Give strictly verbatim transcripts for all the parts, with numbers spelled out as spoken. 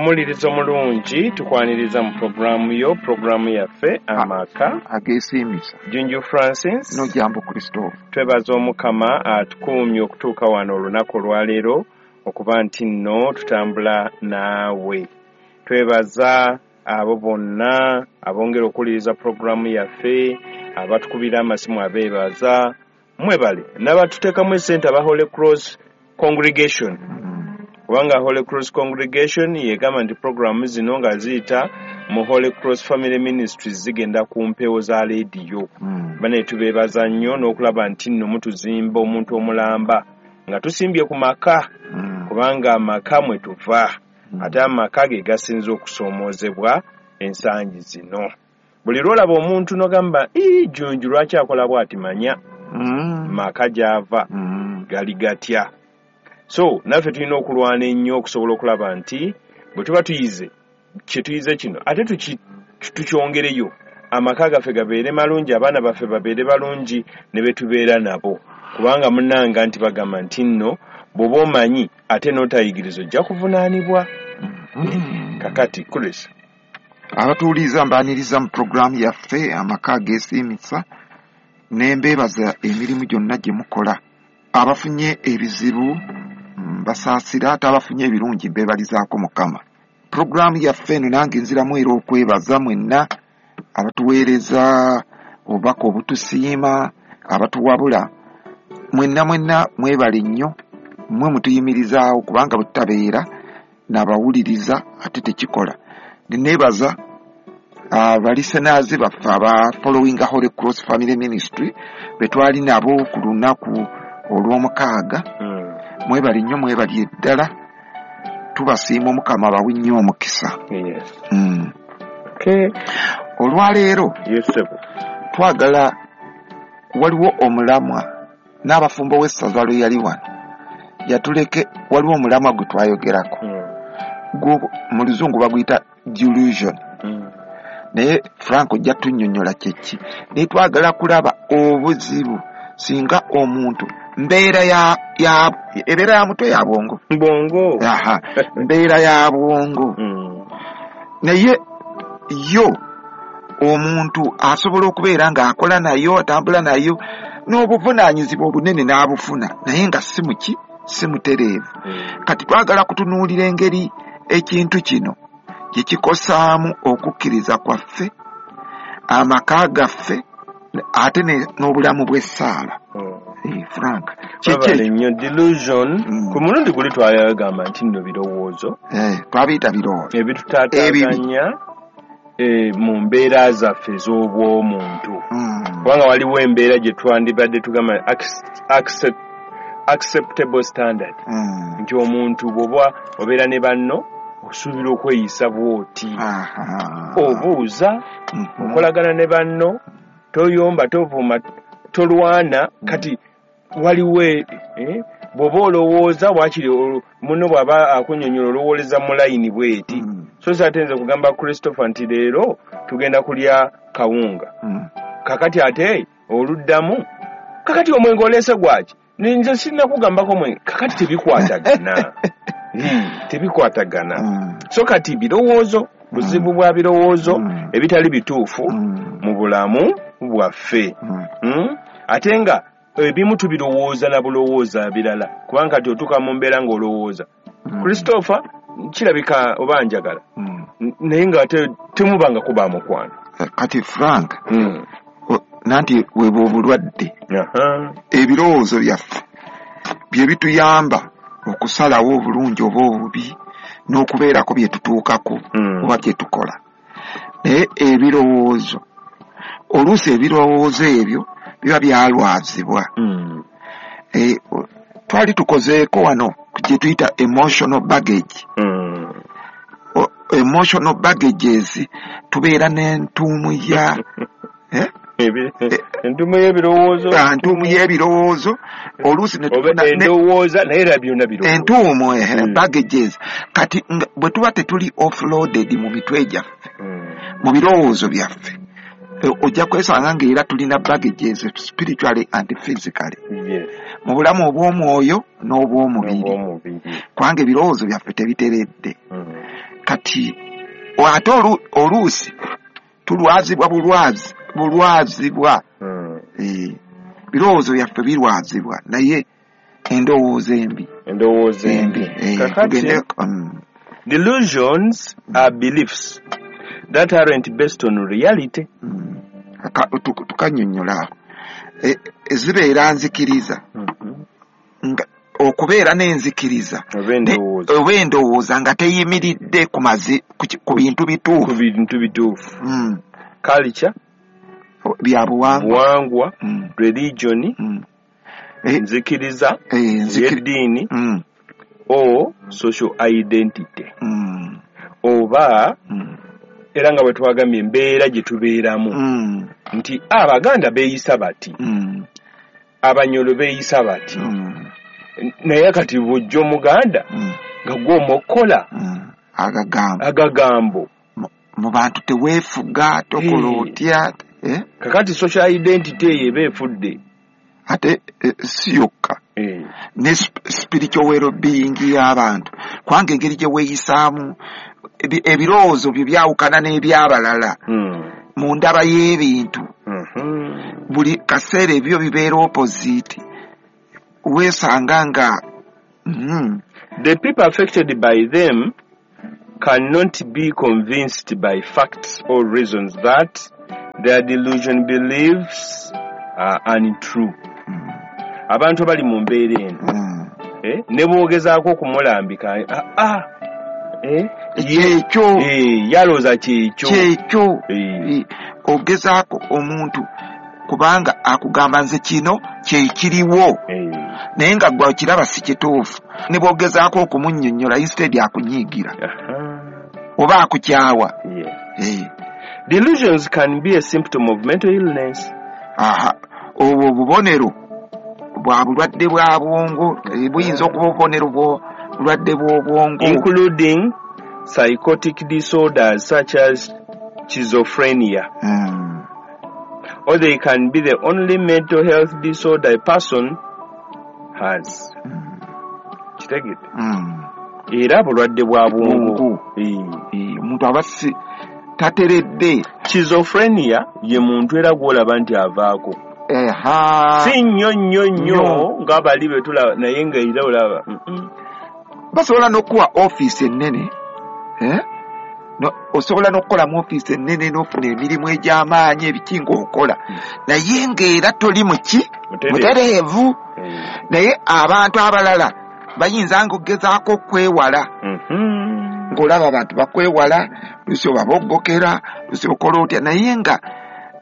Omulirizo mulungi, tukwaniriza mu programu yo, programu yaffe Amaka Ageesiimisa. Junju Francis Nojambo Christopher. Twebaza Omukama atukuumye okutuuka wano olunaku olwaleero okuba nti nno tutambula naawe. Twebaza abo bonna abongera okuwuliriza programu yaffe, abatukubira amasimu abeebaza, mwebale n'abatuteekamu essente aba Holy Cross Congregation. Kubanga Holy Cross Congregation yegamba nti programu zino nga ziyita mu Holy Cross Family Ministries zigenda ku mpewo za leediyo. Mm. Bane tubeebaza nnyo n'okulaba nti nno mutuzimba omuntu omulamba nga tusimbye ku maka, Mm. kubanga amaka mwe tuva, Mm. ate amaka ge gasinze okusoomoozebwa ensangi zino. Buli lw'olaba omuntu n'ogamba, "Ii, Junju lwaki akola bw'ati?" Manya Mm. maka gy'ava Mm. gali gatya. So naffe tulina okulwana ennyo okusobola okulaba nti bwe tuba tuyize kye tuyize kino ate tuki- tukyongereyo, amaka gaffe gabeere malungi, abaana baffe babeere balungi ne be tubeera nabo. Kubanga munnanga nti bagamba nti nno bw'oba omanyi ate n'otayigiriza ojja kuvunaanibwa. Mm. Kakati Chris, abatuwuliriza mbaaniriza mu puroguraamu yaffe Amaka Ageesiimisa, ne mbeebaza emirimu gyonna gye mukola. Abafunye ebizibu mbasaasira, ate abafunye ebirungi mbeebalizaako Mukama. Puroguraamu yaffe eno nange nziramu era okwebaza mwenna abatuweereza obubaka obutusiima, abatuwabula, mwenna mwenna mwebale nnyo, mmwe mutuyimirizaawo kubanga bwe tutabeera n'abawuliriza ate tekikola. Neebaza abalisenaazi baffe aba following Holy Cross Family Ministry be twali nabo ku lunaku olw'omukaaga. Mm. Mwebale nnyo, mwebali eddala, tubasiima, Omukama abawe nnyo omukisa. Yes. Mm. Okay. Olwaleero Yes, sir. twagala, waliwo omulamwa n'abafumbo w'essaza lwe yali wano yatuleke, waliwo omulamwa gwe twayogerako. Mm. Gwo mu luzungu baguyita delusion. Mm. Naye Frank ojja tunnyonnyola kyeki. Naye twagala kulaba obuzibu singa omuntu mbeera ya, ya, ebeera ya mutwe ya bwongo. Bwongo. Aha, mbeera ya bwongo. Mm. Naye yo omuntu asobola okubeera ng'akola nayo, atambula nayo n'obuvunaanyizibwa obunene n'abufuna, naye nga si muki, si mutereevu. Mm. Kati twagala kutunuulira engeri ekintu kino gye kikosaamu okukkiriza kwaffe, amaka gaffe, ate ne- n'obulamu bw'essaala. Mm. Eh, Frank, kiki Webale ekyo? nnyo delusion. Mm. Ku mulundi guli twayagamba nti nno birowoozo Eh, twabiyita birowoozo ebitutaataaganya eh, mu mbeera zaffe ez'obw'omuntu. Mm. Kubanga waliwo embeera gye twandibadde tugamba accept-, accept-, acceptable standard. Mm. Nti omuntu bw'oba obeera ne banno osuubira okweyisa bw'oti. Aha. Obuuza, Mhm. okolagana ne banno, toyomba, tovuuma, tolwana. Kati waliwo eh, bw'oba olowooza waakiri olu-, munno bw'aba akunnyonnyola olowooleza mu layini bw'eti. Mm. So si ate nze kugamba Christopher nti leero tugenda kulya kawunga. Mm. Kakati ate oluddamu, kakati omwenge oleese gwaki? Nze sinnakugambako mwenge. Kakati tebikwatagana. Hmm, tebikwatagana. Mm. So kati birowoozo, buzibu bwa birowoozo Mm. ebitali bituufu Mm. mu bulamu bwaffe. Mm. Hmm? Ate nga ebimu tubirowooza na bulowooza birala, kubanga kati otuuka mu mbeera ng'olowooza. Mm. Christopher kirabika oba njagala. Mm. N-, naye ng'ate temubanga kuba mukwano. Eh, kati Frank, Mm. o-, nanti webwe obulwadde. Aha. Ebirowoozo byaffe bye bituyamba okusalawo obulungi oba obubi n'okubeerako bye tutuukako Mm. oba bye tukola. Naye ebirowoozo, oluusi ebirowoozo ebyo biba byalwazibwa. Mm. Eh, o-, twali tukozeeko wano gye tuyita emotional baggage. Mm. O-, emotional baggages tubeera n'entuumu ya, eh? Ebi-, Eh, entuumu y'ebirowoozo. Ah, entuumu y'ebirowoozo. Oluusi ne Oba tufuna ne endowooza, naye era byonna birowoozo. Entuumu, eh, Mm. baggages. Kati nga bwe tuba tetuli offloaded mu mitwe gyaffe, Mm. mu birowoozo byaffe, eh, ojja kwesanga ng'era tulina baggages spiritually and physically. Yes. Mu bulamu obw'omwoyo n'obw'omubiri. N'obw'omubiri. Kubanga ebirowoozo byaffe tebiteredde. Mm. Kati ate oluusi tulwazibwa bulwazi bulwazibwa mm. e, birowoozo byaffe birwazibwa naye endowooza embi endowooza embi e, kakati um, delusions are beliefs that aren't based on reality. Mm. Tukanyonnyola e, zibeera nzikiriza mm -hmm. nga okubeera n'enzikiriza oba endowooza nga teyimiridde ku mazi ku bintu bituufu ku bintu bituufu mm. Culture bya buwangwa mm. Religion mm. nzikiriza eh, y'eddiini mm. or social identity mm. oba mm. era nga bwe twagambye embeera gye tubeeramu mm. nti Abaganda beeyisa bati mm. Abanyolo beeyisa bati mm. naye kati bw'ojja Omuganda mm. nga gw'omukola mm. agagambo agagambo mu bantu teweefuga tokola otya eh? Kakati social identity eyo eba efudde ate eh, si yokka eh. ne spiritual well-being y'abantu kubanga engeri gye weeyisaamu ebirowoozo byo byawukana n'ebyabalala mm. mu ndaba y'ebintu mm -hmm. buli kaseera ebyo bibeera opposite weesanga nga mm. The people affected by them cannot be convinced by facts or reasons that their delusion beliefs are untrue. Mm. Abantu abali mu mbeera eno mm. eh, ne bw'ogezaako okumulambika ah, ah, eh, kyekyo eh, yalooza kyekyo kyekyo eh. Ogezaako omuntu kubanga akugamba nze kino kyekiriwo eh. naye nga gwe okiraba si kituufu ne bw'ogezaako okumunnyonnyola instead akunyiigira oba akukyawa yeah. eh. Delusions can be a symptom of mental illness. Aha, obwo obubonero bwa bulwadde bwa bwongo buyinza okuba obubonero bw'obulwadde bw'obwongo including psychotic disorders such as schizophrenia. Mm. Or they can be the only mental health disorder a person has. Mm. Kitegedde? Mm. Era bulwadde bwa bwongo. Omuntu aba si tateredde. Schizophrenia ye muntu era gw'olaba nti avaako. Eha. Si nnyo nnyo nnyo nga bali be tulaba naye nga era olaba. Mm -mm. Basobola n'okuwa ofiisi ennene eh? No, osobola n'okukola mu ofiisi ennene n'ofuna emirimu egy'amaanyi ebiki ng'okola mm. naye ng'era toli muki mutereevu mm. naye abantu abalala bayinza ng'ogezaako okwewala mm -hmm. ng'olaba abantu bakwewala lusi obaboggokera lusi okola otya naye nga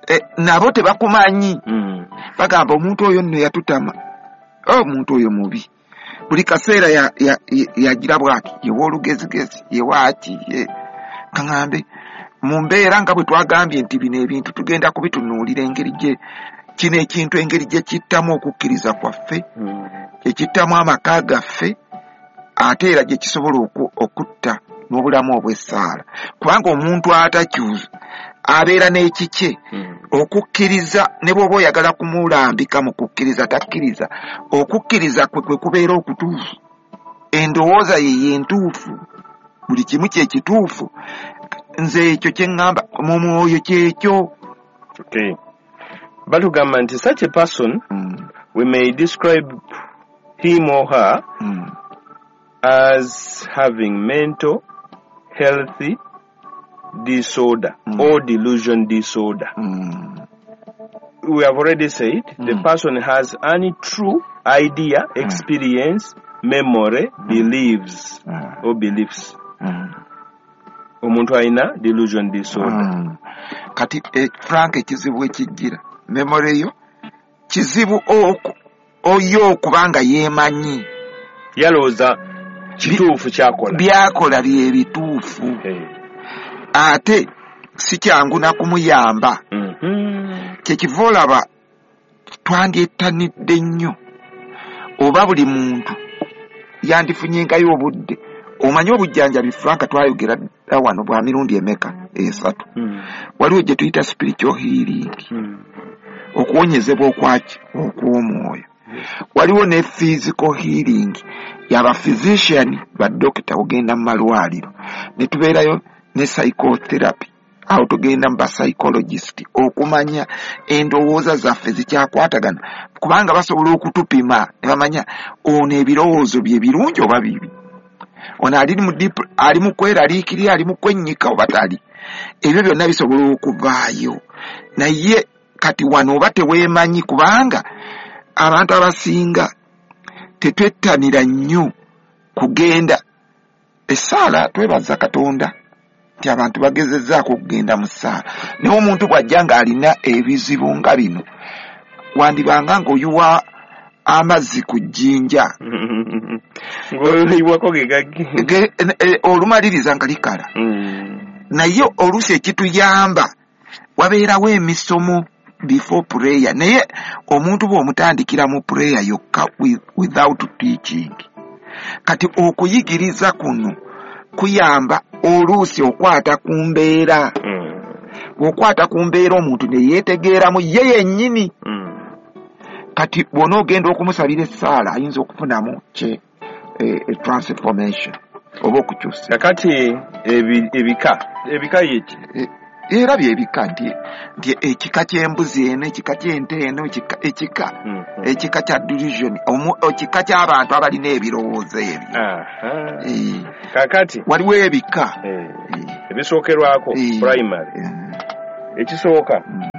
eh, nabo tebakumanyi mm. bagamba omuntu oyo nno yatutama omuntu oyo mubi buli kaseera yagira bwaki yewa olugezigezi yewaaki ye kaŋambe mu mbeera nga bwe twagambye nti bino ebintu tugenda kubitunuulira engeri gye kino ekintu engeri gye kittamu okukkiriza kwaffe mm. gye kittamu amaka gaffe ate era gye kisobola okutta n'obulamu obw'essaala kubanga omuntu atakyusa abeera n'ekikye mm. okukkiriza ne bw'oba oyagala kumulambika mu kukkiriza takkiriza okukkiriza kwe kwe kubeera okutuufu endowooza ye y'entuufu buli kimu kye kituufu nze ekyo kye ŋŋamba mu mwoyo kyekyo. Okay. Batugamba nti such a person mm. we may describe him or her mm. as having mental health disorder mm. or delusion disorder. Mm. We have already said mm. the person has any true idea, experience, mm. memory, mm. beliefs mm. or beliefs. Mm. Omuntu alina delusion disorder. Mm. Kati eh, Frank ekizibu ekijjira memory yo kizibu oyo okubanga yeemanyi yalowooza kituufu kyakola byakola bye bituufu hey. Ate si kyangu na kumuyamba mm -hmm. kyekiva olaba twandyettanidde nnyo oba buli muntu yandifunyengayo obudde omanyi obujjanjabi Frank twayogera dda wano bwa mirundi emeka esatu mm. waliwo gye tuyita spiritual healing mm. okuwonyezebwa okwaki okw'omwoyo Waliwo ne physical healing yaba physician, ba doctor, ogenda mu malwaliro. Ne tubeerayo ne psychotherapy, awo tugenda mu ba psychologist okumanya endowooza zaffe zikyakwatagana, kubanga basobola okutupima ne bamanya ono ebirowoozo bye birungi oba bibi, ono ali mu deep, ali mu kweraliikirira, ali mu kwennyika oba tali. Ebyo byonna bisobola okuvaayo. Naye kati wano oba teweemanyi, kubanga abantu abasinga tetwettanira nnyo kugenda essaala. Twebaza Katonda nti abantu bagezezzaako okugenda mu ssaala, naye omuntu bw'ajja ng'alina ebizibu nga bino, wandibanga ng'oyiwa amazzi ku jjinja, ng'oyiwako ge gaggi. Ge- e- olumaliriza nga likala. Mm. Naye oluusi ekituyamba wabeerawo emisomo before prayer, naye omuntu bw'omutandikira mu prayer yokka with, without teaching, kati okuyigiriza kuno kuyamba oluusi okwata ku mbeera. Mm. Bw'okwata ku mbeera omuntu ne yeetegeeramu ye yennyini. Mm. Kati bw'onoogenda okumusabira essaala ayinza okufunamu kye eh, eh, transformation oba okukyusa. Kakati ebi- ebika ebika yeki? Eh, era byebika nti nti ekika ky'embuzi eno, ekika ky'ente eno, ekika ekika Mhm. ekika kya delusion, omu- ekika ky'abantu abalina ebirowoozo ebyo. Aha. Eh, kakati waliwo ebika eh, Eh, ebisookerwako Eh. primary eh, ekisooka mm,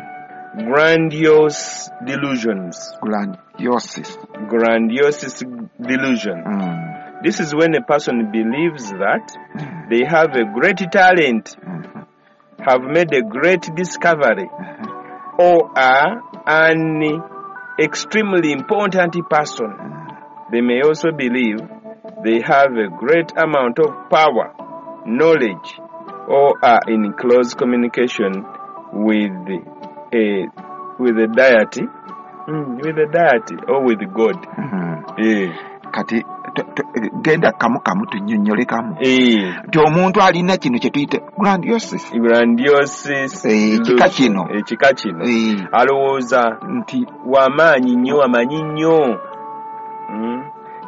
grandiose delusions. Grandiosis. Grandiose delusion. Mm, This is when a person believes that mm, they have a great talent, mhm, have made a great discovery, mhm, or are an extremely important person. mm. They may also believe they have a great amount of power, knowledge, or are in close communication with a with a deity, mm, with a deity or with God. Mhm. Eh, Kati to- to- genda kamu kamu tunnyonnyole kamu eh, nti omuntu alina kino kye tuyita grandiosis. Grandiose Eh, ekika kino. Ekika kino Eh, alowooza nti wamaanyi nnyo, amanyi nnyo. Mm.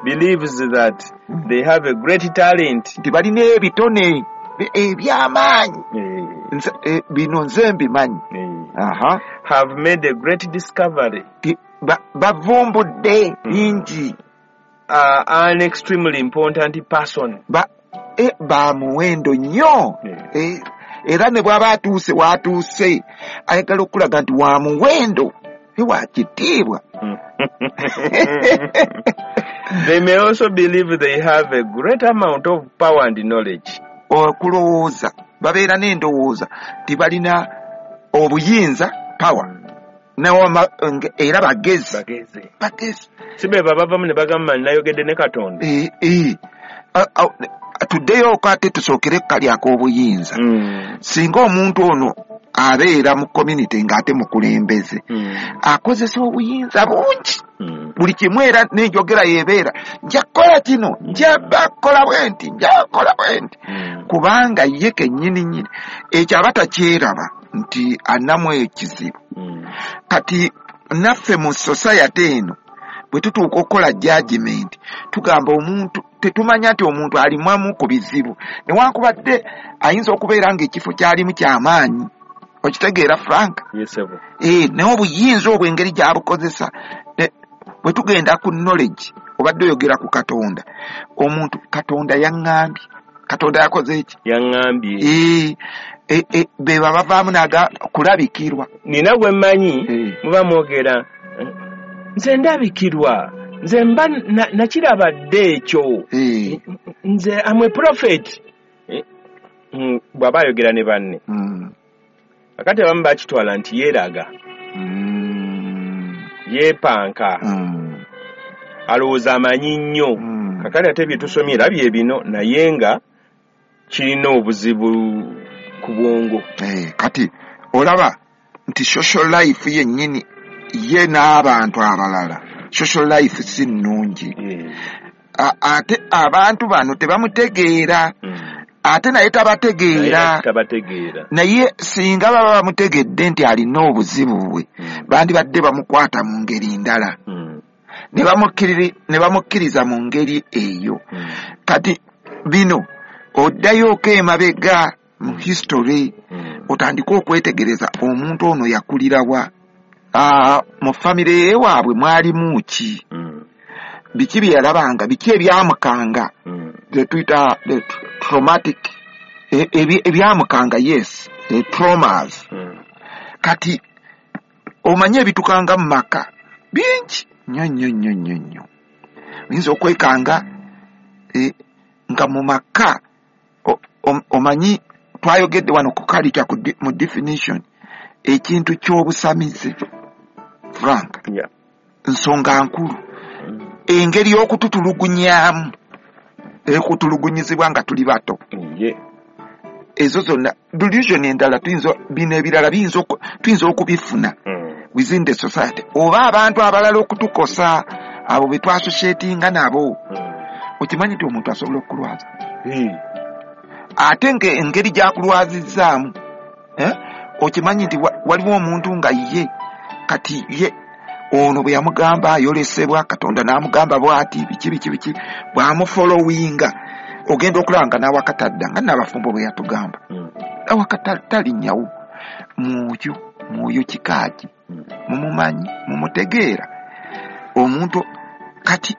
Believes that they have a great talent. Nti balina ebitone eby'amaanyi. Eh, Nze- eh, bino nze mbimanyi. eh. Aha. Have made a great discovery, Ti- ba- bavumbudde bingi. Are an extremely important person. Ba eh, ba muwendo nnyo. Yeah. Eh, era ne bw'aba atuuse w'atuuse ayagala okulaga nti wa muwendo, eh, wa kitiibwa. They may also believe they have a great amount of power and knowledge. Okulowooza babeera n'endowooza nti balina obuyinza, power, newama- nge- era bagezi. Bagezi. Bagezi. Si be babavamu ne bagamba nayogedde ne Katonda. Eh, eh. A- a- tuddeyo ate tusookere ku kali ak'obuyinza. Mm. Singa omuntu ono abeera mu community ng'ate mukulembeze, Mm. akozesa obuyinza bungi Mm. buli kimu, era n'enjogera yebeera nja kukola kino, nja kukola bwe nti, nja kukola bwe nti, Mm. kubanga ye kennyini nnyini ekyo aba takyeraba nti anamu ekizibu. Mm. Kati naffe mu society eno bwe tutuuka okukola judgment tugamba omuntu tetumanya nti omuntu alimamu ku bizibu, newankubadde ayinza okubeera ng'ekifo kyalimu kyamaanyi. Okitegeera, Frank? Yes, sir. Eh, naye obuyinza obwo engeri gy'abukozesa. Ne- bwe tugenda ku knowledge, obadde oyogera ku Katonda, omuntu Katonda yaŋŋambye, Katonda yakoze eki. Yaŋŋambye. Eh, eh, eh, be babavaamu naga kulabikirwa. Nina gwe mmanyi Eh. muba mwogera nze ndabikirwa, nze mba na- nakiraba dda ekyo, Eh, nze am a prophet. Eh, mm, bw'aba ayogera ne banne, mm, akati abamu bakitwala nti yeeraga, mm, yeepanka, mm, alowooza amanyi nnyo. mm. Kakati ate bye tusomye era bye bino, naye nga kirina obuzibu ku bwongo. Eh, kati olaba nti social life yennyini ye n'abantu abalala, social life si nnungi. Eh, A- ate abantu bano tebamutegeera, mm. ate naye Naye tabategeera. tabategeera. Naye singa baba bamutegedde nti alina obuzibu bwe, Mm. bandibadde bamukwata mu ngeri ndala. Mm. Ne bamukkiriza mu ngeri eyo. Kati bino oddayooko emabega mu history, otandike okwetegereza omuntu ono yakulirawa, mu famire yewaabwe mwalimu ki, biki bye yalabanga, biki ebyamukanga, tuyita traumatic, ebyamukanga, yes, traumas. Kati omanye ebitukanga mu maka bingi nnyo nnyo nnyo nnyo nnyo. Oyinza okwekanga nga mu maka omanyi twayogedde wano ku culture mu definition ekintu ky'obusamize, Frank, nsonga nkulu. Engeri y'okututulugunyamu, ekutulugunyizibwa nga tuli bato, ezo zonna delusion endala tuyinza, bino ebirala tuyinza okubifuna within the society, oba abantu abalala okutukosa abo be twasosietinga nabo. Okimanyi nti omuntu asobola okukulwaza, ate engeri gy'akulwazizzaamu, okimanyi nti waliwo omuntu nga ye kati ye ono bwe yamugamba ayolesebwa Katonda n'amugamba bw'ati biki biki biki, bw'amufolowinga ogenda okulaba nga n'awakatadda, nga n'abafumbo bwe yatugamba awakatalinnyawo mwoyo mwoyo kikaaki, mumumanyi, mumutegeera omuntu. Kati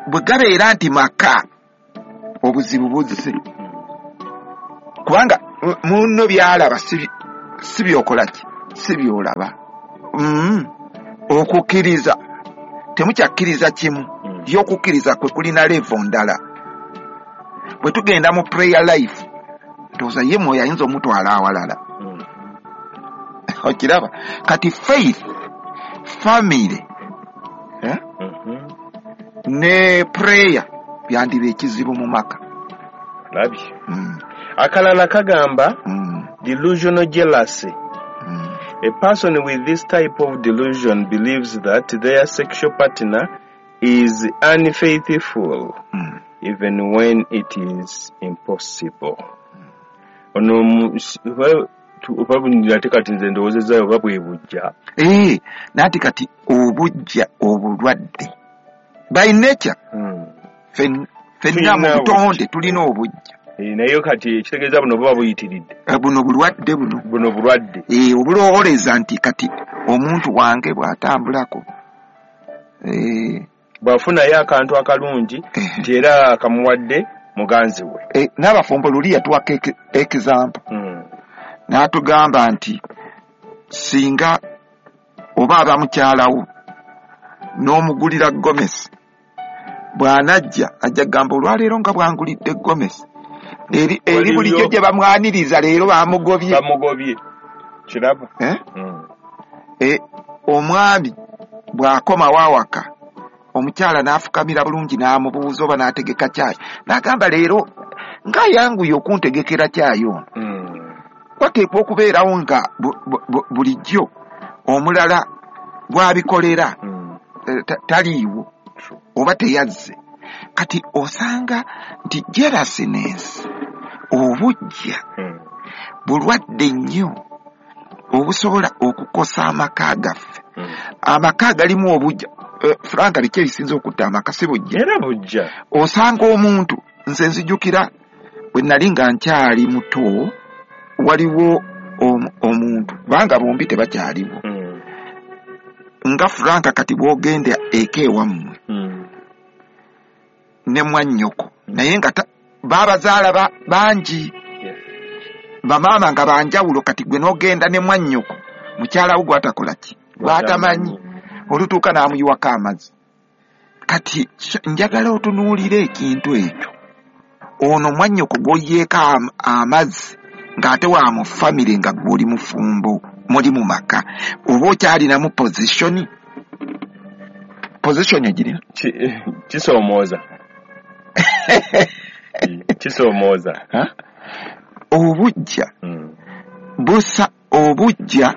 bwe gabeera nti maka obuzibu buzze, kubanga munno byalaba si byokola ki, si byolaba. Okukkiriza temukyakkiriza kimu, ye okukkiriza kwe kulina level ndala. Bwe tugenda mu prayer life, ndowooza ye mwoyo ayinza omutwala awalala. Okiraba? Kati faith, family, ne prayer byandiba ekizibu mu maka. Labye. Akalala kagamba delusional jealousy. A person with this type of delusion believes that their sexual partner is unfaithful, mm. even when it is impossible. Ono kati nze ndowoozezaayo oba bwe bujja. Eh, nati kati obujja obulwadde by nature ffenna mu butonde tulina obujja. Naye kati ekitegeeza buno buba buyitiridde. Buno bulwadde buno. Buno bulwadde. Eh, obulowooleza nti kati omuntu wange bw'atambulako eh, bw'afunayo akantu akalungi nti era akamuwadde muganzi we. Eh, n'abafumbo luli yatuwako example. Mm. N'atugamba nti singa oba aba mukyalawo n'omugulira gomesi, bw'anajja ajja kugamba olwaleero nga bwangulidde gomesi. Eri eri bulijjo gye bamwaniriza leero bamugobye. Bamugobye. Kiraba. Eh? Mm. Eh, omwami bw'akomawo awaka omukyala n'afukamira bulungi n'amubuuza oba n'ategeka kyayi, n'agamba leero ng'ayanguye okuntegekera kyayi ono. Mm. Wateekwa okubeerawo nga bulijjo omulala bw'abikolera mm. taliiwo oba teyazze. Kati osanga nti jealousness, obujja, mm. bulwadde nnyo obusobola okukosa amaka gaffe. Mm. Amaka galimu obujja. Uh, Frank biki ebisinza okutta amaka si bujja? Era bujja. Osanga omuntu, nze nzijukira bwe nali nga nkyali muto, waliwo omuntu kubanga bombi tebakyaliwo. Mm. Nga Frank kati bw'ogenda eka ewammwe mm. ne mwannyoko, naye nga babazaala ba, bangi, yeah. bamaama nga banjawulo. Kati gwe n'ogenda ne mwannyoko, mukyala wo gw'atakola ki, gw'atamanyi, olutuuka n'amuyiwako amazzi. Kati njagala otunuulire ekintu ekyo. Ono mwannyoko gw'oyiyeeko amazzi ng'ate wa mu famire nga gw'oli mufumbo, muli mu maka, oba okyalinamu position. Position egirina kisoomooza. Kisoomooza. Obujja busa, obujja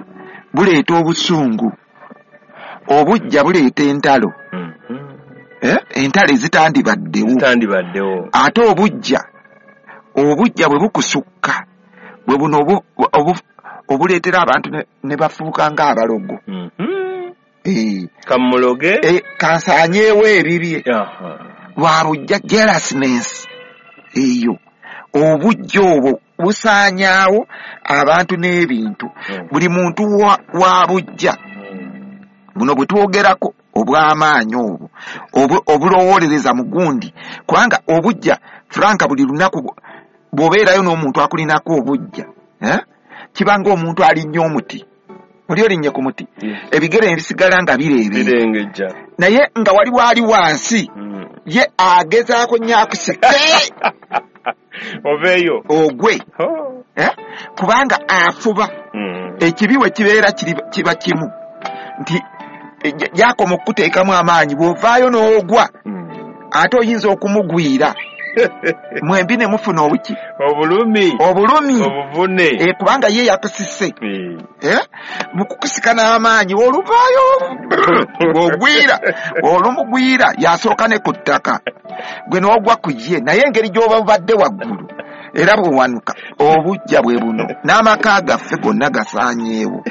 buleeta obusungu, obujja buleeta entalo. Eh, entalo ezitandibaddewo. Zitandibaddewo. Ate obujja, obujja bwe bukusukka, bwe buno obuleetera abantu ne bafuuka ng'abalogo. Eh. Kamuloge. Eh, kansaanyeewo ebibye. Lwa bujja, jealousness eyo. Obujja obwo busaanyaawo abantu n'ebintu. Mm. Buli muntu wa, wa bujja. Mm. Buno bwe twogerako obw'amaanyi obwo, obu-, obulowoolereza mu gundi. Kubanga obujja, Frank, buli lunaku bw'obeerayo n'omuntu akulinako obujja, eh? Kiba ng'omuntu alinnya omuti. Oli olinnye ku muti. Yes. Ebigere ebisigala nga bireebeera. Birengejja. Naye nga waliwo ali wansi, Mm. ye agezaako nnyo akusike. Oveeyo. Ogwe. Oh. Eh? Kubanga afuba. Mm. Ekibi we kibeera kiri, kiba kimu. Nti, e, yakoma okukuteekamu amaanyi, bw'ovaayo n'ogwa, Mm. ate oyinza okumugwira. Mwembi ne mufuna obuki? Obulumi. Obulumi. Obuvune. Eh, kubanga ye yakusise. Eh. Eh? Mu kukusika n'amaanyi, oluvaayo, bw'ogwira, olumugwira, yasooka ne ku ttaka. Gwe n'ogwa ku ye, naye engeri gy'oba obadde waggulu, era bw'owanuka, obujja bwe buno. N'amaka gaffe gonna gasaanyeewo,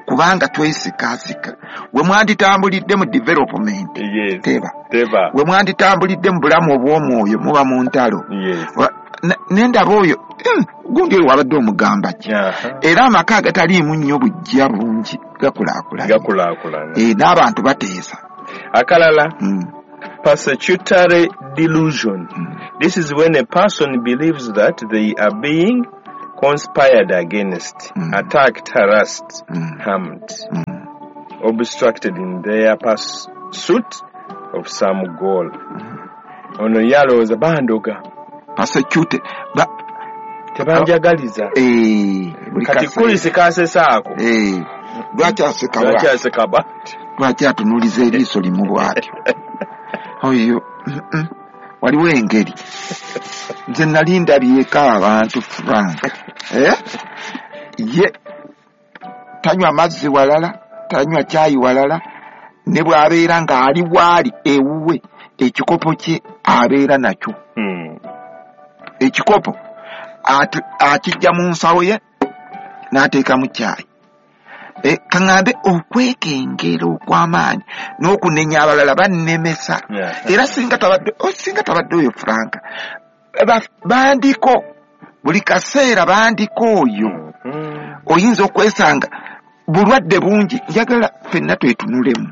kubanga twesikaasika. We mwanditambulidde mu development, Yes. teba. Teba. We mwanditambulidde mu bulamu obw'omwoyo, muba mu ntalo. Yes. Wa-, ne, ne ndaba oyo, hmm, gundi oyo wabadde omugamba ki? Aha. Era amaka agataliimu nnyo bujja bungi gakulaakulana. Gakulaakulana. Eh, n'abantu bateesa. Akalala. Hmm. Persecutory delusion. Mm. This is when a person believes that they are being conspired against, Mm. attacked, harassed, Mm. harmed, Mm. obstructed in their pursuit of some goal. Mm. Ono yalowooza bandoga. Persecuted. Ba- Tebanjagaliza. Eh, buli Kati kaseera. kulisi kasesaako. Eh, lwaki aseka Lwaki bw'atyo? aseka bw'atyo? Lwaki atunuuliza eriiso limu bw'atyo? Oyo, mm-mm. Waliwo engeri. Nze nali ndabyeko abantu, Frank. Eh? Ye tanywa mazzi walala, tanywa caayi walala, ne bw'abeera ng'ali waali ewuwe, ekikopo kye abeera nakyo. Hmm. Ekikopo atu-, akijja mu nsawo ye n'ateekamu caayi. E, kaŋŋambe okwekengera okw'amaanyi n'okunenya abalala bannemesa. Yeah. Era singa tabadde, oh, singa tabadde oyo Frank, ba-, bandiko buli kaseera bandiko oyo. Mm-hmm. Oyinza okwesanga bulwadde bungi. Njagala ffenna twetunulemu.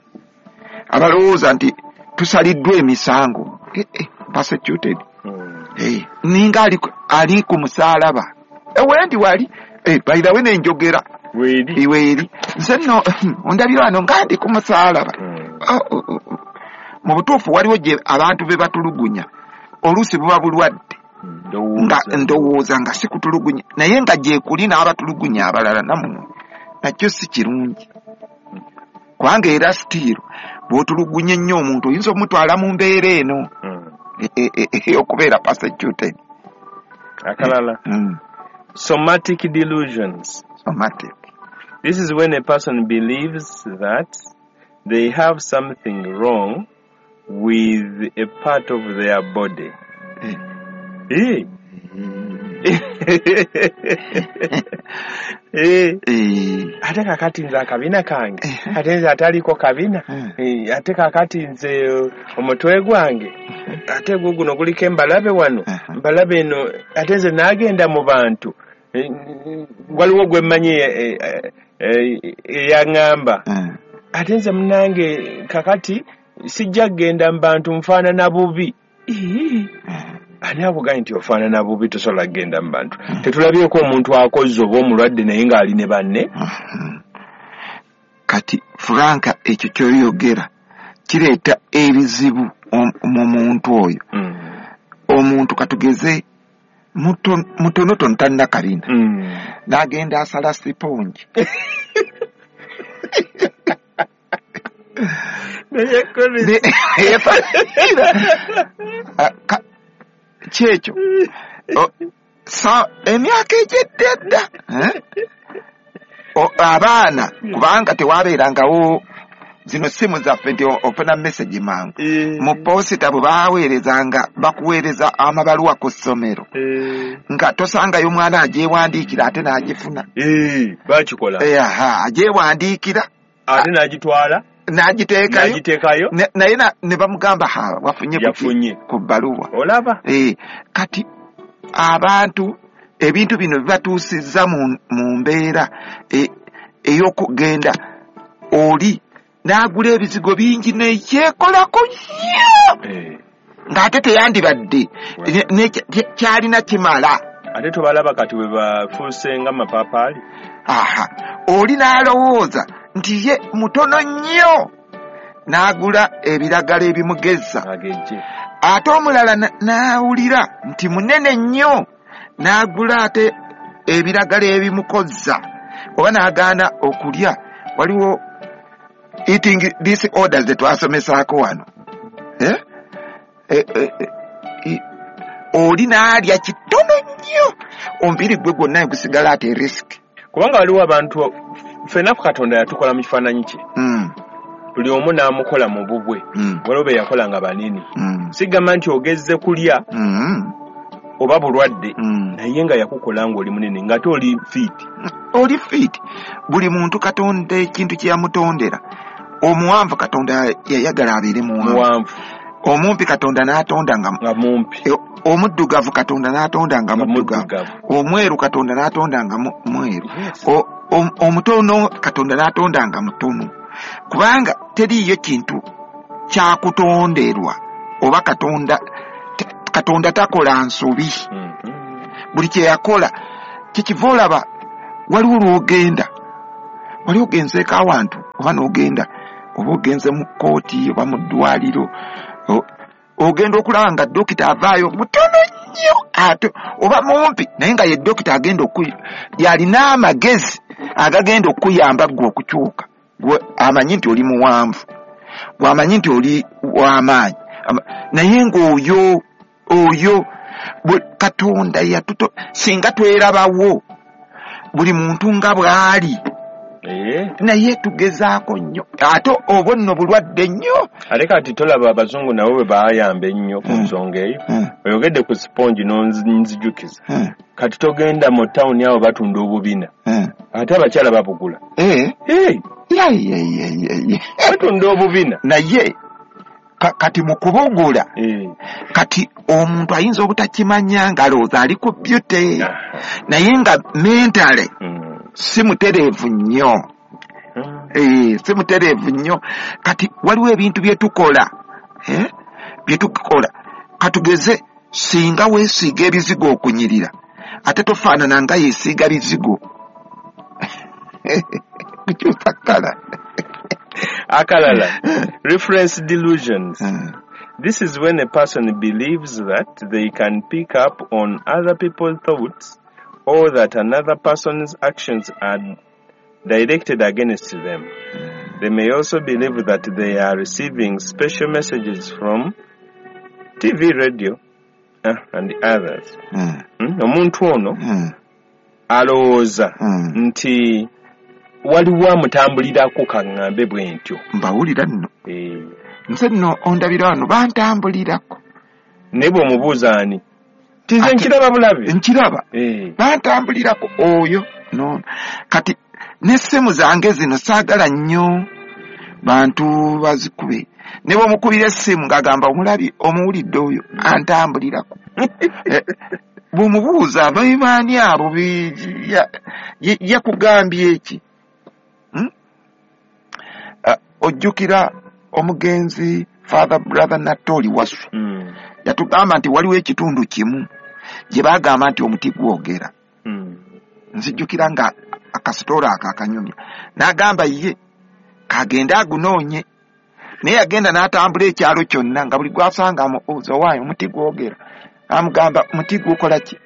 Abalowooza nti tusaliddwa emisango. Eh, eh, persecuted. Mm. Eh, ninga ali, ali ku musaalaba. Eh, wendi wali. Eh, by the way nenjogera. Weeri. Weeri. Nze nno, ondabira wano nga ndi ku musaalaba. Mm. Oh, oh, oh, oh. Mu butuufu waliwo gye abantu be batulugunya. Oluusi buba bulwadde. Ndowooza. Nga ndowooza nga si kutulugunya. Naye nga gye kuli n'abatulugunya abalala nammwe. Nakyo si kirungi. Kubanga era sitiiro, bw'otulugunya ennyo omuntu oyinza omutwala mu mbeera eno. Mm. E, e, e, e, okubeera persecuted. Akalala. Mm. Somatic delusions. Somatic. This is when a person believes that they have something wrong with a part of their body. Eh. Eh. Eh. Eh. Ate kakati nze akabina kange. Eh. Ate nze ataliko kabina. Eh. Eh, ate kakati nze omutwe gwange. Ate gwo guno guliko embalabe wano. Eh. Mbalabe eno, ate nze naagenda mu bantu. Eh, waliwo gwe mmanyi, eh, eh, eh, eyaŋŋamba. Eh. Ate nze munnange kakati sijja kugenda mu bantu nfaanana bubi. Ii. Ani akugambye nti ofaanana bubi tosobola kugenda mu bantu? Tetulabyeko omuntu akozze oba omulwadde naye ng'ali ne banne? Kati Frank ekyo ky'oyogera kireeta ebizibu om-, mu muntu oyo. Mm. Omuntu katugeze muto-, mutonotono talina kabina. Mm. N'agenda asala sipongi. Naye Chris. Ne-, Ah, ka-, kyekyo. O, sa, emyaka egyedda edda, eh? O, abaana, kubanga tewabeerangawo zino simu zaffe nti o-, ofuna message mangu. Eh. Mu posita bwe baaweerezanga, bakuweereza amabaluwa ku ssomero. Eh. Nga tosangayo mwana agyewandiikira ate n'agifuna. Eh, baakikola. Eh, aha, agyewandiikira. Ate n'agitwala? N'agiteekayo naye ne bamugamba ha wafunye ku bbaluwa. Olaba eh, kati abantu ebintu bino bibatuusizza mu, mu mbeera ey'okugenda oli n'agula ebizigo bingi nekyekolako nnyo eh. ng'ate teyandibadde kyalina kimala. Ate tobalaba kati bwe bafuuse nga mapaapaali. Aha, oli n'alowooza nti ye mutono nnyo n'agula ebiragala ebimugeza. Ate omulala n'awulira nti munene nnyo n'agula ate ebiragala ebimukozza oba n'agaana okulya. Waliwo eating disorders ze twasomesaako wano eh? Eh, eh, eh, oli n'alya kitono nnyo omubiri gwe gwonna gusigala ate risk. Kubanga waliwo abantu ffenna Katonda yatukola mu kifaananyi kye mm. buli omu n'amukola mu bubwe mm. waliwo be yakola nga banene mm. sigamba nti ogezze kulya mm. oba bulwadde mm. naye nga yakukola ng'oli munene ng'ate oli fit. Oli fit. Buli muntu Katonda ekintu kye yamutondera. Omuwanvu Katonda yayagala abeere muwanvu, omumpi Katonda n'atonda nga mumpi, e, omuddugavu Katonda n'atonda nga muddugavu, omweru Katonda n'atonda nga mweru, yes. omutono Katonda n'atonda nga mutono. Kubanga teriiyo kintu kyakutonderwa oba Katonda Katonda takola nsobi. mm -hmm. Buli kye yakola kyekiva olaba waliwo lw'ogenda wali ogenzeeko awantu oba n'ogenda oba ogenze mu kkooti oba mu ddwaliro ogenda okulaba nga dokita avaayo mutono nnyo ate oba mumpi naye nga ye dokita agenda yalina amagezi agagenda okuyamba ggwe okukyuka. Gwe amanyi nti oli muwanvu, gwe amanyi nti oli w'amaanyi, naye ng'oyo oyo Katonda yatuto singa twerabawo buli muntu nga bw'ali naye tugezaako nnyo ate obwo nno bulwadde nnyo. Ate kati tolaba abazungu nabo bwe baayamba ennyo ku nsonga eyo. Oyogedde ku sipongi n'onzijukiza. Kati togenda mu tawuni awo batunda obubina ate abakyala babugula. Batunda obubina naye kati mu kubugula kati omuntu ayinza obutakimanya ng'alowooza ali ku beauty naye nga mentale si mutereevu nnyo. Eh, si mutereevu nnyo. Kati waliwo ebintu bye tukola eh? bye tukola katugeze singa weesiiga ebizigo okunyirira ate tofaanana nga yeesiiga bizigo kukyusa kkala. Akalala, reference delusions. This is when a person believes that they can pick up on other people's thoughts or that another person's actions are directed against them. They may also believe that they are receiving special messages from T V, radio, uh, and others. Omuntu ono alowooza nti waliwo amutambulirako kaŋŋambe bwe ntyo. Mbawulira nno. Nze nno ondabira wano bantambulirako. Naye bw'omubuuza ani? Nti nze nkiraba bulabi. Nkiraba. Bantambulirako oyo no. Kati n'essimu zange zino saagala nnyo bantu bazikube. Ne bw'omukubira essimu ng'agamba omulabi omuwulidde oyo antambulirako. Bw'omubuuza baani abo yakugambye eki? Ojjukira omugenzi Father Brother Natoli Wasu mm. yatugamba nti waliwo ekitundu kimu gye baagamba nti omuti gwogera. mm. Nzijjukira nga akasitoola ako akanyumya n'agamba ye kagende agunoonye, naye yagenda n'atambula ekyalo kyonna nga buli gw'asanga amubuuza owaayo omuti gwogera, amugamba omuti gukola ki?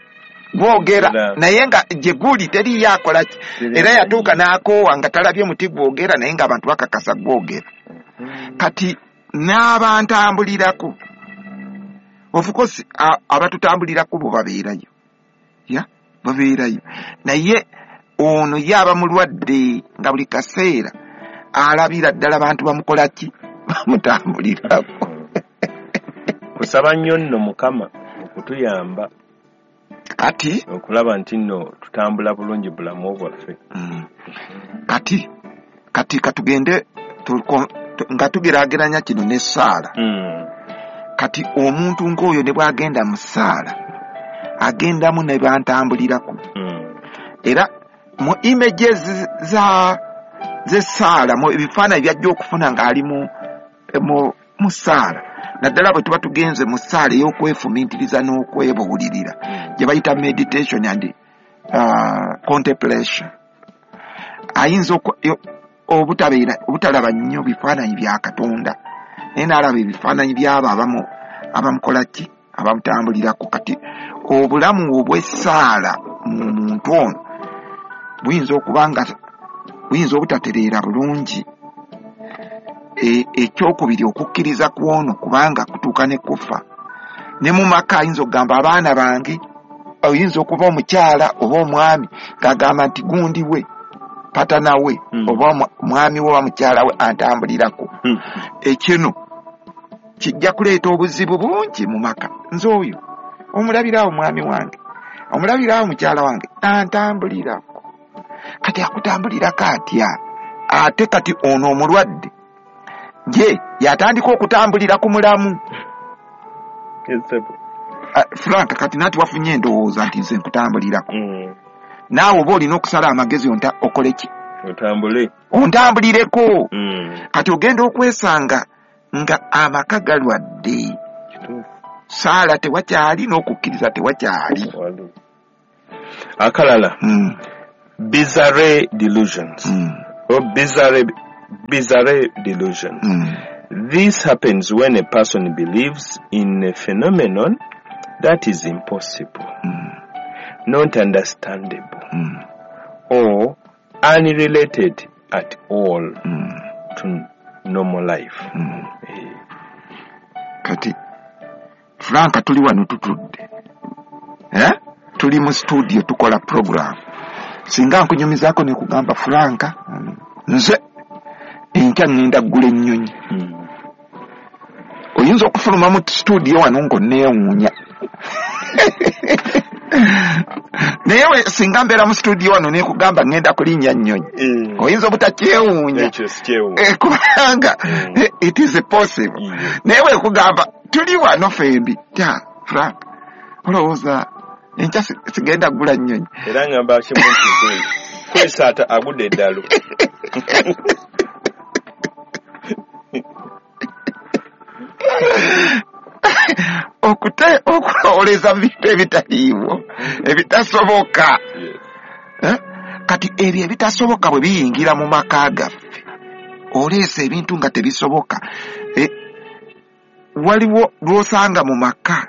Gwogera. Naye nga gye guli teriiyo akola ki? Era yatuuka n'akoowa nga talabye muti gwogera naye ng'abantu bakakasa gwogera. Kati n'abantambulirako of course abatutambulirako bo babeerayo ya babeerayo naye ono ye aba mulwadde nga buli kaseera alabira ddala bantu bamukola ki? Bamutambulirako. Kusaba nnyo nno Mukama okutuyamba kati okulaba nti nno tutambula bulungi bulamu bwaffe. Mm. Kati kati katugende Nga tugeraageranya kino n'essaala. Mm. Kati omuntu ng'oyo ne bw'agenda mu ssaala agendamu ne bantambulirako. Mm. Era mu images za z'essaala, mu ebifaananyi by'ajja okufuna ng'ali mu, mu, mu ssaala, naddala bwe tuba tugenze mu ssaala ey'okwefumiitiriza n'okwebuulirira Mm. gye bayita meditation and uh, contemplation, ayinza oku-, yo-, obutabeera, obutalaba nnyo bifaananyi bya Katonda, naye n'alaba ebifaananyi by'abo abamu-, abamukola ki, abamutambulirako. Kati obulamu obw'essaala mu muntu ono buyinza okuba nga buyinza obutatereera bulungi. E, ekyokubiri, okukkiriza kw'ono kubanga kutuuka ne kufa. Ne mu maka ayinza okugamba abaana bange, oyinza okuba omukyala oba omwami ng'agamba nti gundi we, patana we, Mm. oba omwa-, omwami we oba mukyala we antambulirako. Mm. Ekino kijja kuleeta obuzibu bungi mu maka. Nze oyo omulabirawo omwami wange, omulabirawo mukyala wange antambulirako. Kati akutambulirako atya? Ate kati ono omulwadde ye yatandika okutambulira ku mulamu. Yes, sir. Ah, Frank, kati nati wafunye endowooza nti nze nkutambulirako. Mm. Naawe oba olina okusala amagezi onta okole ki? Otambule. Ontambulireko. Mm. Kati ogenda okwesanga nga amaka galwadde. Kituufu. Saala tewakyali n'okukkiriza tewakyali. Wali. Akalala. Mm. Bizarre delusions. Mm. Or bizarre, bizarre delusions. Mm. This happens when a person believes in a phenomenon that is impossible, Mm. not understandable, Mm. or unrelated at all Mm. to normal life. Mm. Eh. Kati Frank, tuli wano tutudde. Eh? Tuli mu studio tukola program. Singa nkunyumizaako ne kugamba Frank, nze enkya ŋŋenda ggula ennyonyi. Mm. Oyinza okufuluma mu studio wano ng'onneewuunya. Naye we singa mbeera mu studio wano ne kugamba ŋŋenda kulinnya nnyonyi, Eh. oyinza obutakyewuunya. Ekyo sikyewuunya. Eh, kubanga Mm. eh, it is possible. Yeah. Naye we kugamba tuli wano ffembi, tya Frank, olowooza enkya si-, sigenda ggula nnyonyi. Era ngamba kimu nti kwe-, kwesaata agudde eddalu. Okute-, okulowooleza mu bintu ebitaliiwo, ebitasoboka. Yes. Eh? Kati ebyo ebitasoboka bwe biyingira mu maka gaffe, oleesa ebintu nga tebisoboka. Eh, waliwo lw'osanga mu maka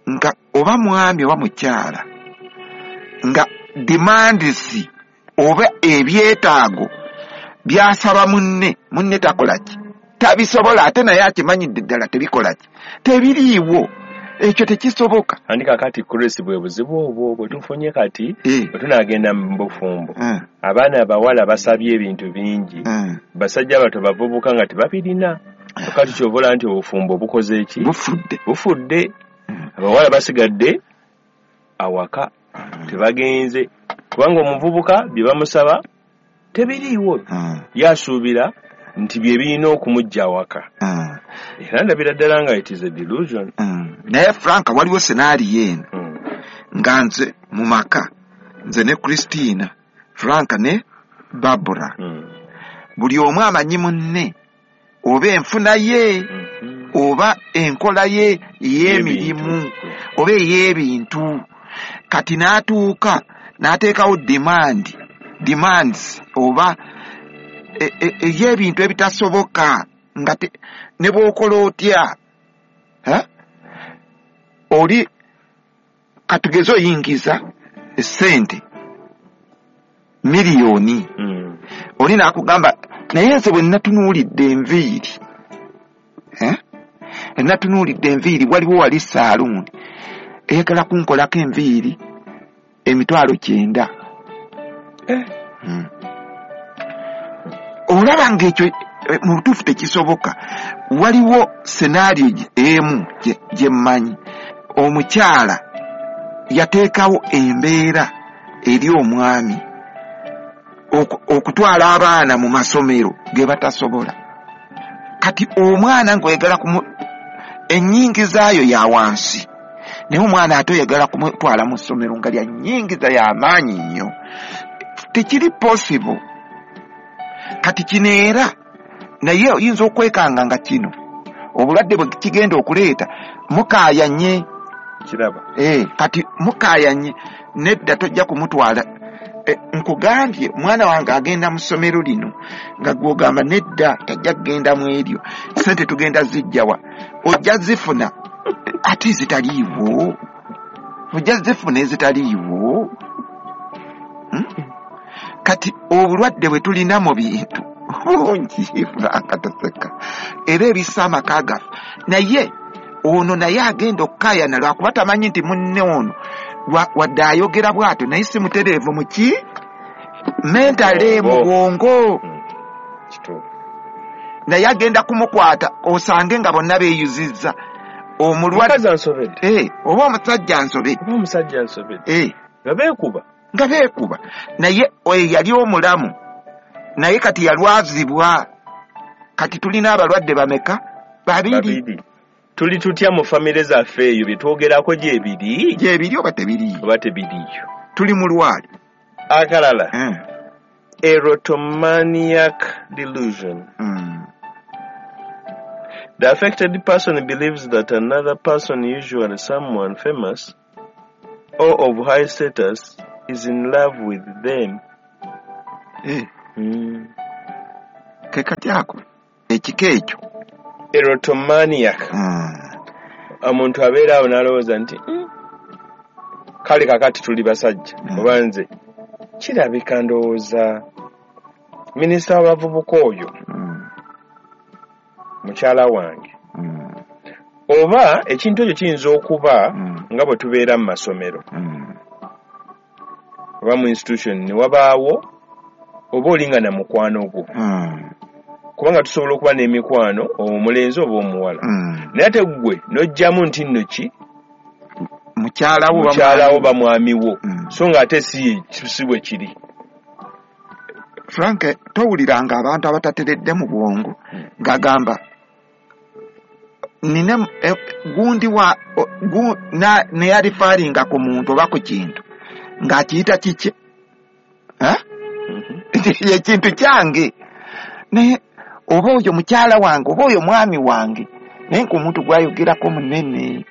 nga oba mwami oba mukyala nga demands oba ebyetaago byasaba munne, munne takola ki? Tabisobola, ate naye akimanyidde ddala tebikola ki? Tebiriiwo. Ekyo tekisoboka. Andi kakati Chris bwe buzibu obwo bwe tufunye kati, Eh. bwe tunaagenda mu bufumbo. Eh. Abaana abawala basabye ebintu bingi. Eh. Basajja bato bavubuka nga tebabirina. Kati ky'ova olaba nti obufumbo bukoze ki? Bufudde. Bufudde. Mm. Abawala basigadde awaka, Mm. tebagenze. Kubanga omuvubuka bye bamusaba tebiriiwo. Mm. Yasuubira nti bye birina okumujja awaka. Mm. Era ndabira ddala nga it is a delusion. Mm. Naye Frank, waliwo scenario eno. Mm. Nga nze mu maka, nze ne Christina, Frank ne Barbara. Mm. Buli omu amanyi munne oba enfuna ye, Mm-hmm. oba enkola ye ey'emirimu, Ey'ebintu. oba ey'ebintu. Kati n'atuuka n'ateekawo demand, demands oba e-, e-, ey'ebintu ebitasoboka nga te-, ne bw'okola otya. Ha? Oli katugeze oyingiza essente miliyoni. Mm. Oli n'akugamba naye nze bwe natunuulidde enviiri, eh? Natunuulidde enviiri, waliwo wali saaluuni eyagala kunkolako enviiri emitwalo kyenda. Eh. Mm. Olaba ng'ekyo, eh, mu butuufu tekisoboka. Waliwo senaariyo emu gye, gye mmanyi. Omukyala yateekawo embeera eri omwami oku-, okutwala abaana mu masomero ge batasobola. Kati omwana ng'oyagala kumu ennyingizaayo ya wansi, naye omwana ate oyagala kumutwala mu ssomero nga lya nnyingiza y'amaanyi nnyo, tekiri possible. Kati kino era naye oyinza okwekanga nga kino obulwadde bwe kigenda okuleeta mukaayanye. Kiraba. Eh, kati mukaayanye nedda tojja kumutwala. E, nkugambye mwana wange agenda mu ssomero lino nga gw'ogamba nedda tajja kugenda mu eryo, ssente tugenda zijjawa, ojja zifuna ate ezitaliiwo, ojja zifuna ezitaliiwo. Hmm? Kati obulwadde bwe tulina mu bintu bungi, Frank taseka, era ebissa amaka gaffe. Naye ono naye agenda okukaayana lwakuba tamanyi nti munne ono wadde ayogera bw'atyo naye si mutereevu mu ki mentale mu bwongo. Naye agenda kumukwata osange nga bonna beeyuzizza omulwadde ansobedde, oba omusajja ansobedde, oba omusajja ansobedde, nga beekuba nga beekuba. Naye oyo yali omulamu, naye kati yalwazibwa. Kati tulina abalwadde bameka? Babiri. Tuli tutya mu famire zaffe eyo bye twogerako gyebiri? Gyebiri oba tebiriyo? Oba tebiriyo. Tuli mu lwali. Akalala. Mm. Erotomaniac delusion. Mm. The affected person believes that another person, usually someone famous or of high status, is in love with them. Eh. Mm. Ke kati ako ekika ekyo erotomaniac. Mm. Omuntu abeera awo n'alowooza nti mm, kale kakati tuli basajja mm. oba nze kirabika ndowooza minisita w'abavubuka oyo mm. mukyala wange mm. oba ekintu ekyo kiyinza okuba mm. nga bwe tubeera mu masomero mm. oba mu institution ne wabaawo oba olinga na mukwano gwo mm. kubanga tusobola okuba n'emikwano omulenzi oba omuwala mm. naye ate ggwe n'ojjamu nti nno ki mukyalawo mukyalawo bamwamiwo mm. so nga ate si si bwe kiri. Frank, towuliranga abantu abatateredde mu bwongo ng'agamba nina eh, gundi wa gu, na neyalifaalinga ku muntu oba ku kintu ng'akiyita kiki eh? mm-hmm. ekintu kyange, naye oba oyo mukyala wange oba oyo mwami wange, naye ng'omuntu gw'ayogerako munene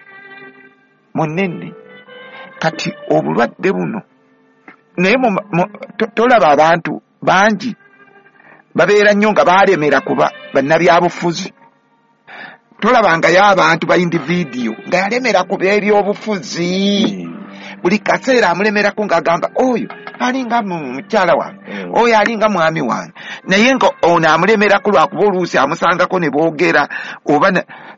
munene. Kati obulwadde buno naye tolaba abantu bangi babeera nnyo nga baalemera kuba bannabyabufuzi. Tolabangayo abantu ba individual nga yalemera ku by'ebyobufuzi, buli kaseera amulemerako ng'agamba oyo alinga mukyala wange, oyo alinga mwami wange, naye nga ono amulemerako lwakuba oluusi amusangako ne boogera oba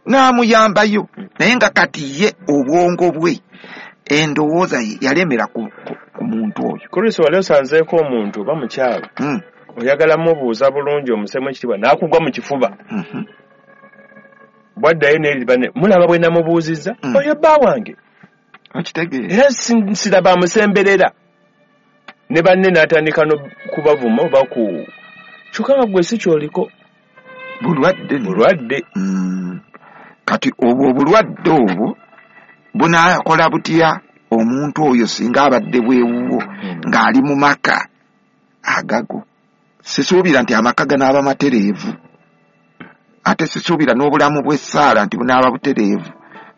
n'amuyambayo, naye nga kati ye obwongo bwe endowooza ye yalemera ku, ku, ku muntu oyo. Chris, wali osanzeeko omuntu oba mukyala mm. oyagala mubuuza bulungi omusemu ekitiibwa n'akugwa mu kifuba mm -hmm. bwaddayo n'eri mulaba bwe namubuuzizza mm. oyo bba wange okitegeera, era siraba amusemberera ne banne n'atandika n'okubavuma oba ku kyokka nga ggwe si ky'oliko bulwadde bulwadde mm. Kati obwo obulwadde obwo bunaakola butya omuntu oyo singa abadde bwewuwo mm. ng'ali mu maka agago? Sisuubira nti amaka ganaaba matereevu, ate sisuubira n'obulamu bw'essaala nti bunaaba butereevu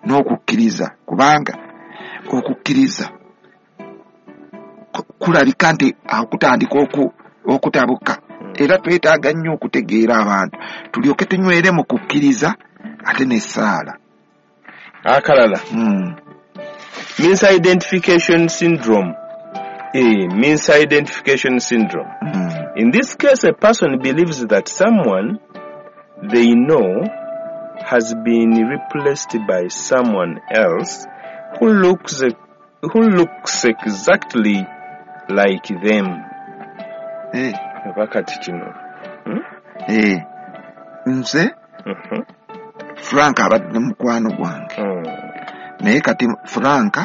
n'okukkiriza, kubanga okukkiriza kulabika nti akutandika okutabuka. Era twetaaga nnyo okutegeera abantu tulyoke tunywere mu kukkiriza ate n'essaala. Akalala mm. misidentification syndrome. Eh, misidentification syndrome. Mm. In this case, a person believes that someone they know has been replaced by someone else who looks who looks exactly like them. Eh. Wakati kino. Hmm? Eh. Nze mm-hmm. Frank abadde mukwano gwange. Mm. Naye kati Frank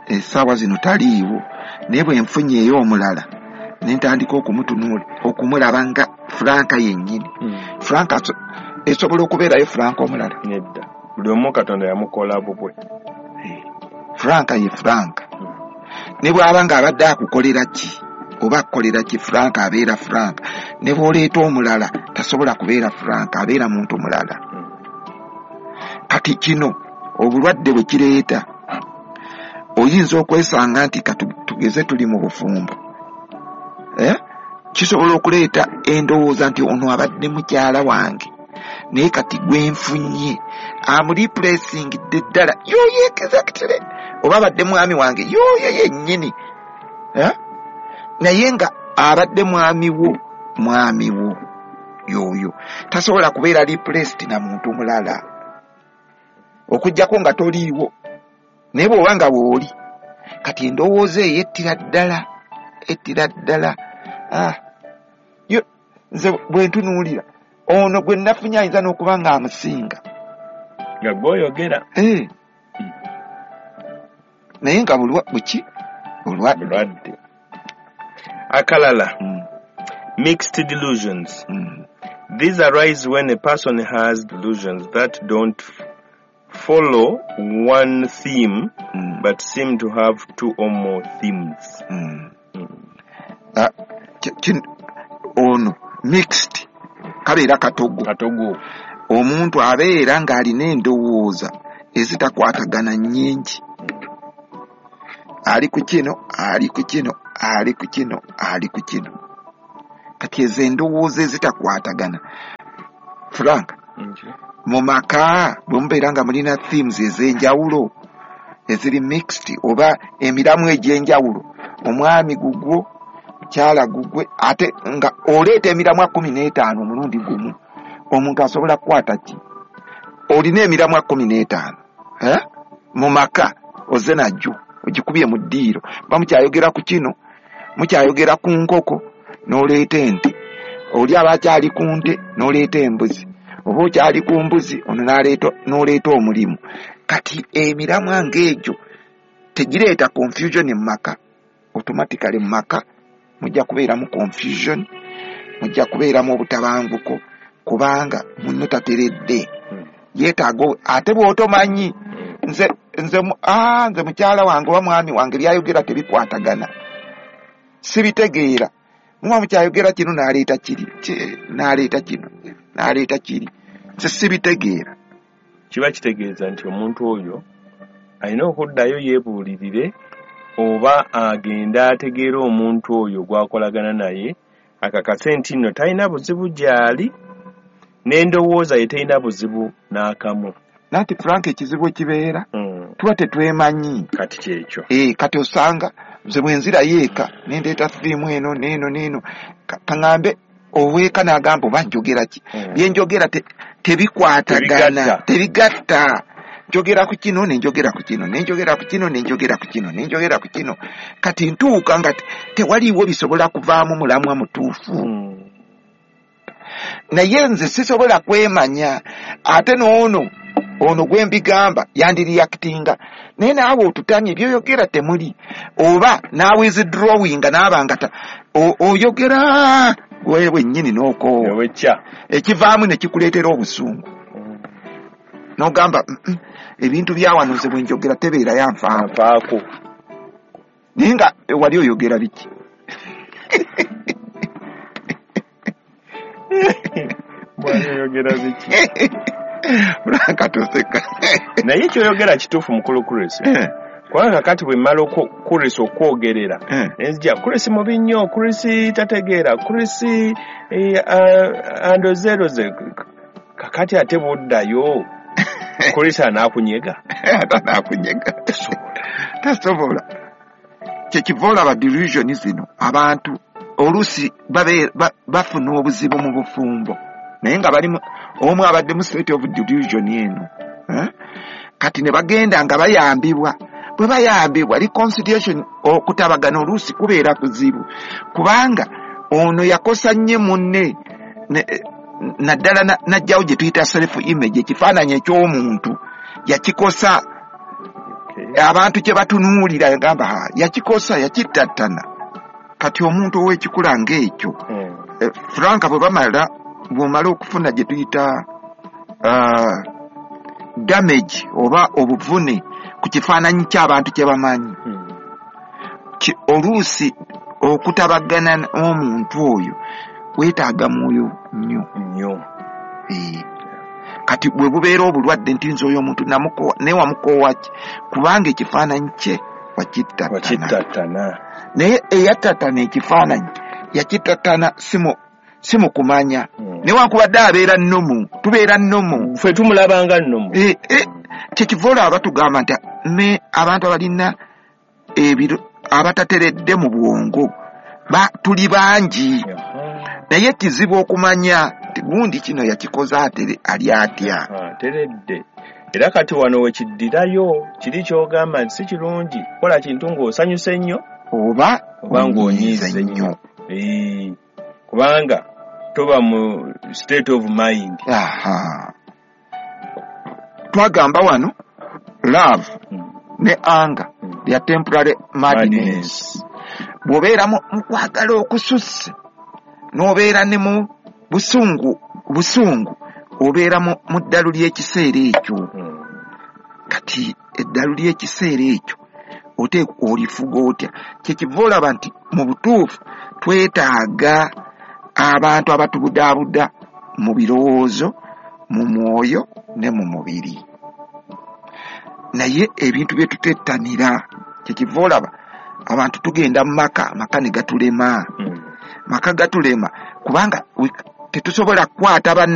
essaawa zino taliiwo, naye bwe nfunyeeyo omulala ne ntandika okumutunuula okumulaba nga Frank yennyini. Mm. Frank Esobola okubeerayo Frank omulala? Nedda, buli omu Katonda yamukola bubwe. Frank ye Frank. Ne bw'aba ng'abadde akukolera ki oba akukolera ki, Frank abeera Frank. Ne bw'oleeta omulala tasobola kubeera Frank, abeera muntu mulala. Kati kino obulwadde bwe kireeta, oyinza okwesanga nti tugeze tuli mu bufumbo, eh? Kisobola okuleeta endowooza nti ono abadde mukyala wange, naye kati gwe nfunye amureplacingidde ddala yoyo exactly, oba abadde mwami wange yoyo yennyini, eh? Naye nga abadde mwami wo, mwami wo yoyo tasobola kubeera replaced na muntu mulala, okuggyako nga toliiwo. Naye bw'oba nga bw'oli, kati endowooza eyo ettira ddala, ettira ddala. Ah, yo nze bwe ntunuulira ono gwe nafunye ayinza n'okuba nga amusinga nga gw'oyogera, eh. Naye nga bulwa buki bulwadde. Akalala, mm. mixed delusions. Mm. These arise when a person has delusions that don't follow one theme, mm. but seem to have two or more themes. Mm. Mm. Uh, ono mixed kabeera katogo. Katogo. Omuntu abeera ng'alina endowooza ezitakwatagana nnyingi, ali ku kino, ali ku kino, ali ku kino, ali ku kino. Kati ezo endowooza ezitakwatagana, Frank, mu maka bwe mubeera nga mulina themes ez'enjawulo eziri mixed oba emiramu egy'enjawulo, omwami gugwo, mukyala gugwe, ate nga oleeta emiramwa kkumi n'etaano omulundi gumu, omuntu asobola kukwata ki? Olina emiramwa kkumi n'etaano, eh? Mu maka ozze najjo ogikubye mu ddiiro, ba mukyayogera ku kino, mukyayogera ku nkoko, n'oleeta ente, oli aba akyali ku nte n'oleeta embuzi, oba okyali ku mbuzi ono n'oleeta omulimu. Kati emiramwa ng'egyo tegireeta confusion mu maka. Automatically mu maka mujja kubeeramu confusion, mujja kubeeramu obutabanguko, kubanga munno tateredde, yeetaaga. Ate bw'otomanyi, nze nze ah, nze mukyala wange oba mwami wange byayogera tebikwatagana, sibitegeera. Muba mukyayogera kino n'aleeta kiri, n'aleeta kino, n'aleeta kiri, nze sibitegeera. Kiba kitegeeza nti omuntu oyo alina okuddayo yeebuulirire oba agenda ategeera omuntu oyo gw'akolagana naye, akakase nti nno talina buzibu gy'ali, n'endowooza ye terina buzibu n'akamu. Nanti Frank, ekizibu ekibeera mm. tuba tetwemanyi. Kati kyekyo. Eh, kati osanga nze bwe nzirayo eka ne ndeeta firimu eno n'eno n'eno, kaŋŋambe oweeka n'agamba oba njogera ki? Mm. Bye njogera te, tebikwatagana, tebigatta. Njogera ku kino ne njogera ku kino, ne njogera ku kino, ne njogera ku kino, ne njogera ku kino. Kati ntuuka nga tewaliiwo bisobola kuvaamu mulamwa mutuufu. Mm. Naye nze sisobola kwemanya, ate n'ono ono gwe mbigamba yandireactinga, naye naawe otutamye by'oyogera temuli, oba naawe withdrawinga n'aba nga oyogera gwe wennyini n'okoowa, ekivaamu ne kikuleetera obusungu, n'ogamba ebintu bya wano nze bwe njogera tebeera yanfaako, naye nga wali oyogera biki? Wali oyogera biki? Frank toseka. Naye kyoyogera kituufu mukulu Chris. Kubanga kati bwe mmala Chris okwogerera, nzija Chris mubi nnyo, Chris tategeera, Chris andozeeroze. Kakati ate bw'oddayo Chris anaakunyega. Anaakunyega. Tasobola. Kyekiva olaba delusion zino abantu oluusi bafuna obuzibu mu bufumbo, naye nga bali omu abadde mu state of delusion eno, eh? Kati ne bagenda nga bayambibwa. Bwe bayambibwa reconciliation, okutabagana oluusi kubeera kuzibu, kubanga ono yakosa nnyo munne, naddala n'ajjawo gye tuyita self image, ekifaananyi eky'omuntu yakikosa. Abantu kye batunuulira yagamba yakikosa, yakittattana. Kati omuntu ow'ekikula ng'ekyo, mm. Frank bwe bamala bw'omala okufuna gye tuyita uh, damage oba obuvune ku kifaananyi ky'abantu kye bamanyi. Mm. Ki- oluusi okutabagana n'omuntu oyo weetaaga mwoyo nnyo. Nnyo. Eh, kati bwe bubeera obulwadde nti nze oyo omuntu namukoowa, naye wamukoowa ki? Kubanga ekifaananyi kye wakittattana. Wakittattana. Naye eyattattana ekifaananyi yakittattana si mu- si mu kumanya, Mm. newankubadde abeera nnomu, tubeera nnomu. Ffe tumulabanga nnomu. Eh, eh, kyekiva olaba batugamba nti ne abantu abalina ebiro abatateredde mu bwongo ba, tuli bangi, Aha. naye kizibu okumanya nti gundi kino yakikoze atere ali atya. Aha, teredde. Era kati wano wekiddirayo kiri ky'ogamba nti si kirungi kola kintu ng'osanyuse nnyo oba oba ng'onyiize onyiize nnyo. Eh, kubanga toba mu state of mind. Aha, twagamba wano love Mm. ne anger Mm. lya temporary madness. Madness. Bw'obeera mu mu kwagala okususse n'obeera ne mu busungu busungu obeera mu mu ddalu ly'ekiseera ekyo. Mm. Kati eddalu ly'ekiseera ekyo oteekwa olifuga otya? Kyekiva olaba nti mu butuufu twetaaga abantu abatubudaabuda mu birowoozo, mu mwoyo ne mu mubiri. Naye ebintu bye tutettanira, kyekiva olaba abantu tugenda mu maka, amaka ne gatulema. Mm. Maka gatulema kubanga we- tetusobola kukwata banna.